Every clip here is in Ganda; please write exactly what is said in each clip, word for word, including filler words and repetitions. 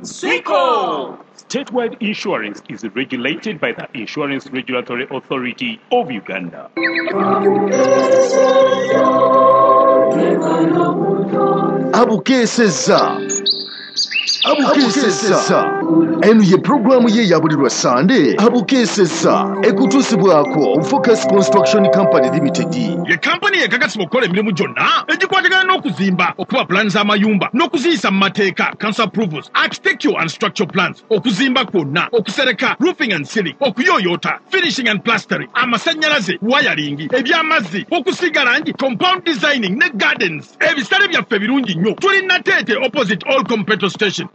Swiko! Statewide insurance is regulated by the Insurance Regulatory Authority of Uganda. Abukeesezza Abukeesezza eno ye pulogulaamu ye ya buli lwa Sande Abukeesezza ekutuusibwako Focus Construction Company Limited. Ye kampani ekakasibwa okukola emirimu gyonna egikwatagana n'okuzimba, okuba pulaani z'amayumba n'okuziyisa mu mateeka, council approvals, architectural and structural plans, okuzimba kwonna, okusereka, roofing and ceiling, okuyooyoota, finishing and plastering, amasannyalaze, wiring, eby'amazzi, okusiiga langi, compound designing ne gardens. Ebisale byaffe birungi nnyo. Tuli Nateete opposite all petrol station.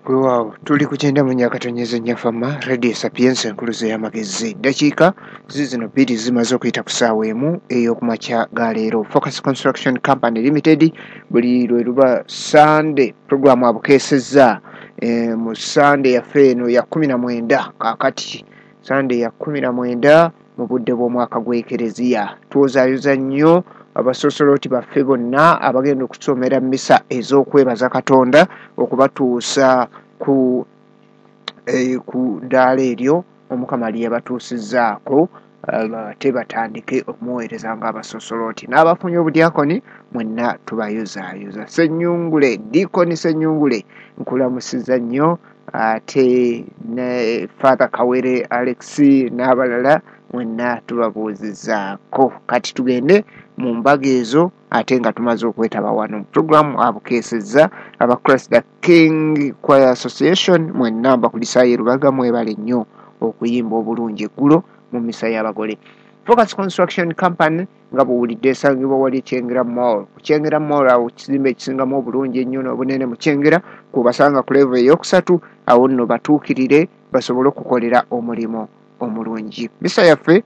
Weewaawo tuli ku kyenda mu nnya akatonyeza nnya Fama Radio Sapienza enkuluzo y'amagezi. Ddakiika zizino bbiri zimaze okuyita ku ssaawa emu ey'okumakya ga leero. Focus Construction Company Limited buli lwe luba Sande pulogulaamu abukeesezza e, mu Sande yaffe eno ya kkumi na mwenda kaakati Sande ya kkumi na mwenda mu budde bw'omwaka gw'Ekereziya. Twozaayoza nnyo abasosoloti baffe bonna abagenda okusomera mmisa ez'okwebaza Katonda okubatuusa ku eh, ku ddaala eryo Omukama lye yabatuusizzaako, ate batandike okumuweereza ng'abasosoloti. N'abafunye obudyakoni mwenna tubayozaayoza. Ssennyungule, Diikoni Ssennyungule, nkulamusizza nnyo, ate ne Father Kawere Alex n'abalala mwenna tubabuuzizzaako. Kati tugende mu mbaga ezo ate nga tumaze okwetaba wano mu pulogulaamu abukeesezza aba Christ the King Choir Association mwenna mbakulisaayo Lubaga mwebale nnyo okuyimba obulungi eggulo mu misa y'abagole. Focus Construction Company nga bw'owulidde esangibwa wali Kyengera Mall. Ku Kyengera Mall awo kizimbe ekisingamu obulungi ennyo n'obunene mu Kyengera kw'obasanga ku level eyokusatu, awo nno batuukirire basobole okukolera omulimu omulungi. Misa yaffe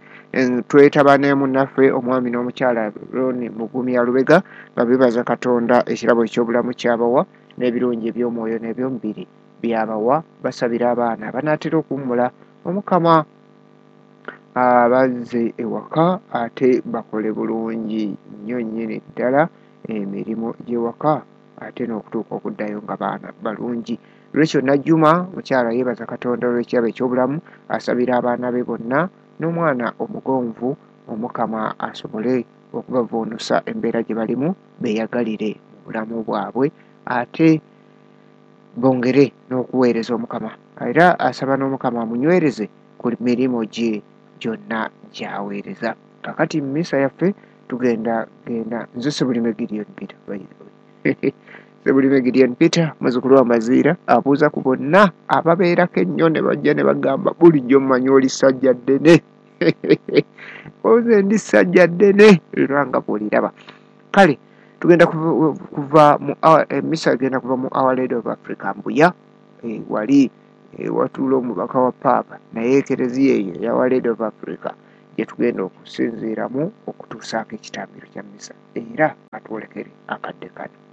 twetaba ne munnaffe omwami n'omukyala Ron Mugumya Lubega nga beebaza Katonda ekirabo eky'obulamu ky'abawa n'ebirungi eby'omwoyo n'eby'omubiri by'abawa. Basabira abaana abanaatera okuwummula Omukama abazze ewaka ate bakole bulungi nnyo nnyini ddala emirimu gy'ewaka ate n'okutuuka okuddayo nga baana balungi. Rachel Najjuma mukyala yeebaza Katonda olw'ekirabo eky'obulamu, asabira abaana be bonna n'omwana omugonvu Omukama asobole okubavvuunusa embeera gye balimu beeyagalire mu bulamu bwabwe ate bongere n'okuweereza Omukama. Era asaba n'Omukama amunywereze ku mirimu gye gyonna gy'aweereza. Kaakati mu misa yaffe tugenda genda nze Ssebulime Gideon Peter, by the way. Ssebulime Gideon Peter muzzukulu wa Maziira abuuza ku bonna ababeerako ennyo ne bajja ne bagamba bulijjo mmanyi oli ssajja ddene. Oze ndi ssajja ddene era nga bw'oliraba. Kale tugenda kuva mu emisa egenda kuva mu Our Lady of Africa Mbuya, e, wali e, watuula omubaka wa Paapa naye ekereziya eyo eya Our Lady of Africa gye tugenda okusinziiramu okutuusaako ekitambiro kya misa era atwolekere akadde kano.